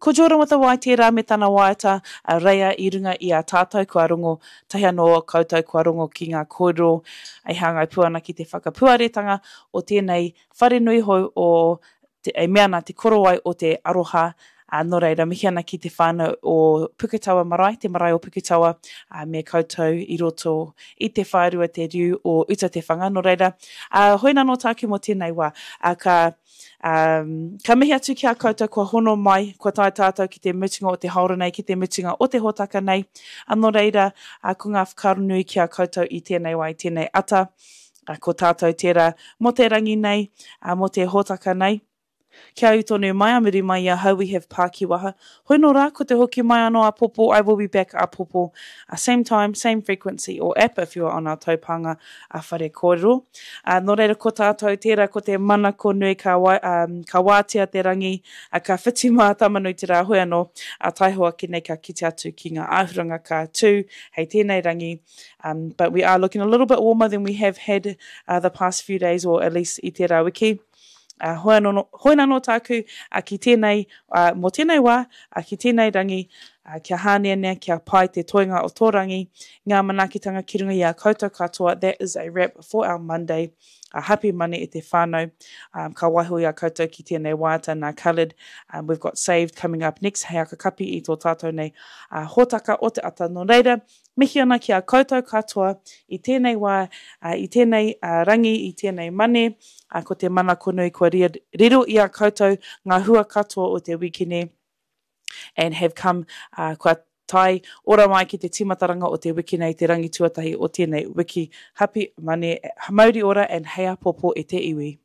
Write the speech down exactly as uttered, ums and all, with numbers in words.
Ko Jordan with a Y tērā me tana waiata a Reia i runga i a tātou kua rongo tahi anō koutou kua rongo ki ngā kōrero e hāngai pū ana ki te whakapuaretanga o tēnei wharenui hou o te, e mea ana te korowai o te aroha. Ā, nō reira, mihi ana ki te whānau o Puketawa Marae, te marae o Puketawa, ā, me koutou i roto i te whārua te riu o Uta Te Whanga. Nō reira, ā, hoi nā nō tāku mō tēnei wā. Ā, ka, ā, ka mihi atu ki a koutou kua hono mai, kua tae tātou ki te mutunga o te haora nei, ki te mutunga o te hōtaka nei. Ā, nō reira, ā, ko ngā whakaaro nui ki a koutou i tēnei wā, i tēnei ata, ā, ko tātou tērā mō te rangi nei, ā, mō te hōtaka nei. Kia ū tonu mai a muri mai i ahau we have Pākiwaha. Hoi nō rā, ko te hoki mai anō āpōpō, I will be back āpōpō, same time, same frequency or app if you are on our taupānga a Whare Kōrero. Ā, nō reira ko tātou tērā ko te manako nui ka, wai, um, ka wātea te rangi, ā, ka whiti mā Tamanuiterā hoi anō, ā, taihoa ake nei ka kite atu ki ngā āhuranga ka tū hei tēnei rangi. Um, but we are looking a little bit warmer than we have had uh, the past few days or at least i tērā wiki. Ā, hoi anō, hoi anō tāku, ā, ki tēnei, ā, mō tēnei wā, ā, ki tēnei rangi, ā, kia hāneanea, kia pai te toenga o tō rangi, ngā manaakitanga ki runga i a koutou katoa, that is a wrap for our Monday. Ā, happy Monday e te whānau, ā, ka waiho i a koutou ki tēnei waiata nā Khalid, um, we've got Saved coming up next hei akakapi i tō tātou nei, ā, hōtaka o te ata. Nō reira, Mihi ana ki a koutou katoa i tēnei wā, i tēnei rangi, i tēnei mane, ko te manako nui kua riro i a koutou ngā hua katoa o te wikene and have come, kua tae ora mai ki te tīmataranga o te wiki nei, te rangi tuatahi o tēnei wiki. Hapi mane, mauri ora and hei apopo e te iwi.